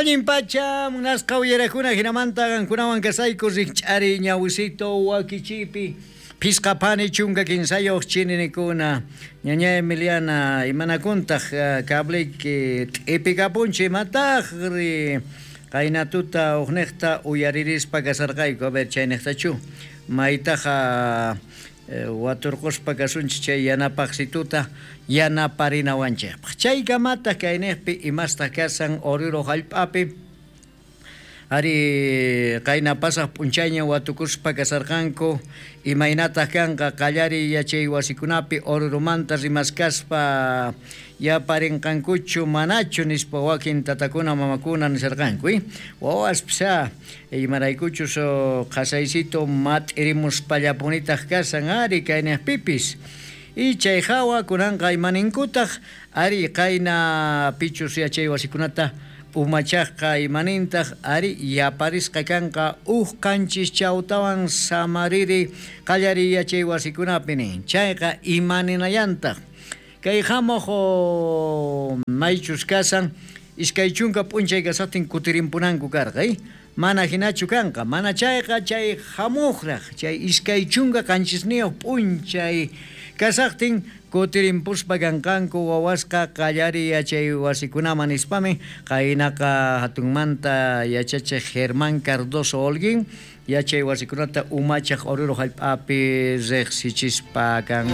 Allin pacha, munasqa uyarakuna, hinamanta qankunawan kasayku rikch'ari ñawisito wakichipi. Phisqa phani 13 chininikuna. Ñaña Emiliana, imanakuntaq cableyki t'ipikapunchu imataqri? Qayna tuta uqniqta uyaririspa kasarqayku, a ver chayniqtachu maytaqa waturquspa kasunchik chay yanapaqsituta yanaparinawanchikpaq. Chaykamataq kayniqpi imastaq kasan Oruro hallp'api. Ari qayna pasaq p'unchayña watukuspa kasarqanku imaynataq kanqa qallariy yachay wasikunapi Orurumanta rimaskaspa yaparinqankuchu manachu nispa wakin tatakuna mamakuna nisarqanku. Wawaspis imaraykuchus qhasaysito mat'irimuspallapunitaq kasan ari kayniqpipis. Y chay hawa kunanqa imaninkutaq ari qayna pichus yachay wasikunata umachaqqa imanintaq ari yaparisqa kanqa uj qanchis chawtawan samariri qallariy yachay wasikunapi nin. Chayqa imaninayantaq kay hamuq maychus kasan 20 p'unchay kasaqtin kutirimpunanku karqa, mana hinachu kanqa, mana chayqa chay hamuqraq chay 27 p'unchay kasaqtin kutirimpuspa kanqanku wawasqa qallariy yachay wasikunaman nispami qaynaqa hatunmanta yachachiq Germán Cardoso Holguín yachay wasikunata umachaq Oruro hallp'api riqsichispa kan.